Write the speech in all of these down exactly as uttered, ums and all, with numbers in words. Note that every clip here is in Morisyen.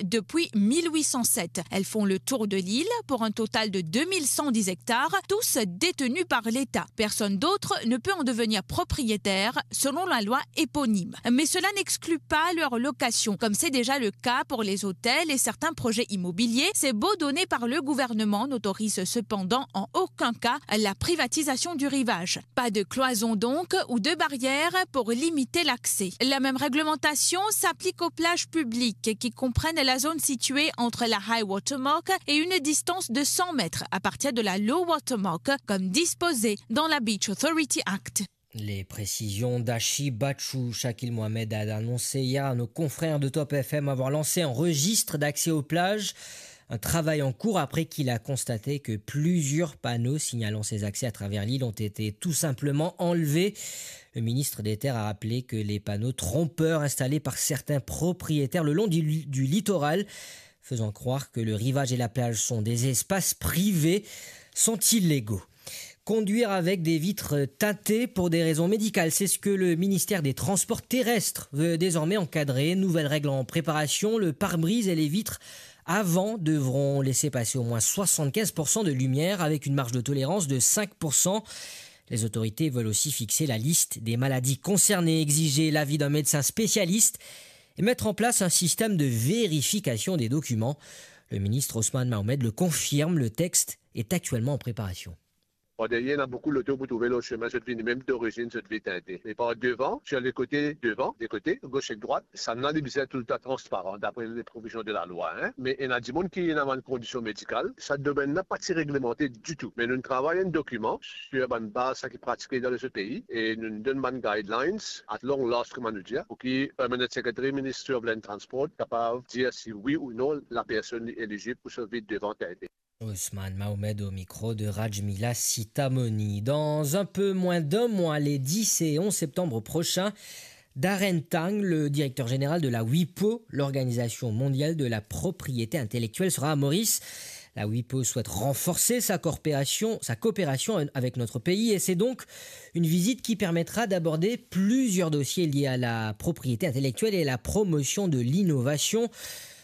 depuis mille huit cent sept. Elles font le tour de l'île pour un total de deux mille cent dix hectares, tous détenus par l'État. Personne d'autre ne peut en devenir propriétaire selon la loi éponyme. Mais cela n'exclut pas leur location, comme c'est déjà le cas pour les hôtels et certains projets immobiliers. Ces baux donnés par le gouvernement n'autorisent cependant en aucun cas la privatisation du rivage. Pas de cloison donc ou de barrière pour limiter l'accès. La même réglementation s'applique aux plages publiques qui comprennent la zone située entre la high water mark et une distance de cent mètres à partir de la low water mark, comme disposé dans la Beach Authority Act. Les précisions d'Ashi Bachou. Shakil Mohamed a annoncé hier à nos confrères de Top F M avoir lancé un registre d'accès aux plages. Un travail en cours après qu'il a constaté que plusieurs panneaux signalant ces accès à travers l'île ont été tout simplement enlevés. Le ministre des Terres a rappelé que les panneaux trompeurs installés par certains propriétaires le long du, du littoral, faisant croire que le rivage et la plage sont des espaces privés, sont illégaux. Conduire avec des vitres teintées pour des raisons médicales, c'est ce que le ministère des Transports terrestres veut désormais encadrer. Nouvelle règle en préparation, le pare-brise et les vitres avant devront laisser passer au moins soixante-quinze pour cent de lumière avec une marge de tolérance de cinq pour cent. Les autorités veulent aussi fixer la liste des maladies concernées, exiger l'avis d'un médecin spécialiste et mettre en place un système de vérification des documents. Le ministre Ousmane Mahomed le confirme, le texte est actuellement en préparation. Par deryer, ena boukou loto pou trouve lor semin, zot vini mem dorizinn, zot vinn tinte. Me par devan, sir le kote devan, de kote, gos ek drwat, sannla li bizin toultan transparan, dapre le provizion de lalwa, hein. Me ena dimoun ki ena bann kondision medikal, sa domenn la pa ti reglemante ditou. Me nou travay enn dokiman sir bann baz sa ki pratike dan lezot pei, e nou donn bann guidelines at long last, kouma nou dir, pou ki Permanent Secretary, Ministry of Land Transport, kapav dir si wi ou non lapersonn li elizib pou so vit devan tinte. Ousmane Mahomed au micro de Rajmila Sitamoni. Dans un peu moins d'un mois, les dix et onze septembre prochains, Darren Tang, le directeur général de la WIPO, l'Organisation mondiale de la propriété intellectuelle, sera à Maurice. La WIPO souhaite renforcer sa coopération, sa coopération avec notre pays, et c'est donc une visite qui permettra d'aborder plusieurs dossiers liés à la propriété intellectuelle et la promotion de l'innovation.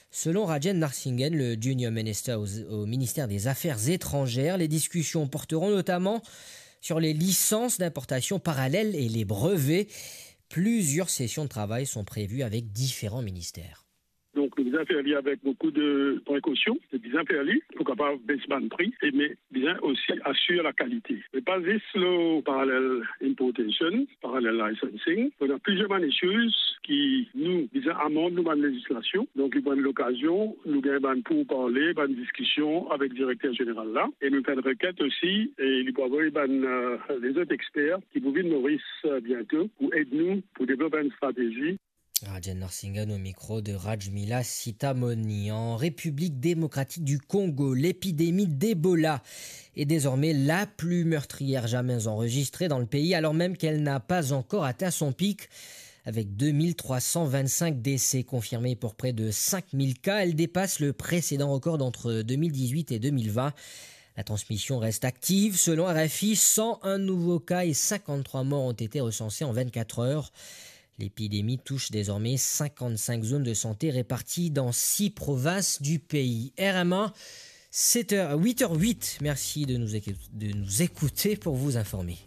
Selon Rajen Narasimhan, le junior minister au, au ministère des Affaires étrangères, les discussions porteront notamment sur les licences d'importation parallèles et les brevets. Plusieurs sessions de travail sont prévues avec différents ministères. Donk, nou bizin fer li avek boukou de prekosion, nou bizin fer li pou kapav bes bann pri, e me bizin osi asir lakalite. Me pa zis lor parallel importation, parallel licensing. Ena plizier bann issues ki nou bizin amand nou bann lezislasion. Donk, li pou enn lokazion, nou gagn bann pourparle, bann diskision avek direkter zeneral la. E nou fer enn rekint osi, e li pou avoy bann, eh, lezot exper ki pou vinn Moris, eh, biento pou ed nou pou devlop enn stratezi. Rajen Narasimhan au micro de Rajmila Sitamoni. En République démocratique du Congo, l'épidémie d'Ebola est désormais la plus meurtrière jamais enregistrée dans le pays, alors même qu'elle n'a pas encore atteint son pic. Avec deux mille trois cent vingt-cinq décès confirmés pour près de cinq mille cas, elle dépasse le précédent record entre deux mille dix-huit et deux mille vingt. La transmission reste active. Selon R F I, cent un nouveaux cas et cinquante-trois morts ont été recensés en vingt-quatre heures. L'épidémie touche désormais cinquante-cinq zones de santé réparties dans six provinces du pays. R M A, sept heures, huit heures huit. Merci de nous écou-, de nous écouter pour vous informer.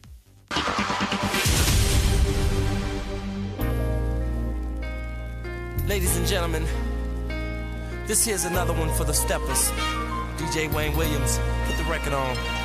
Ladies and gentlemen, this here's another one for the steppers. D J Wayne Williams, put the record on.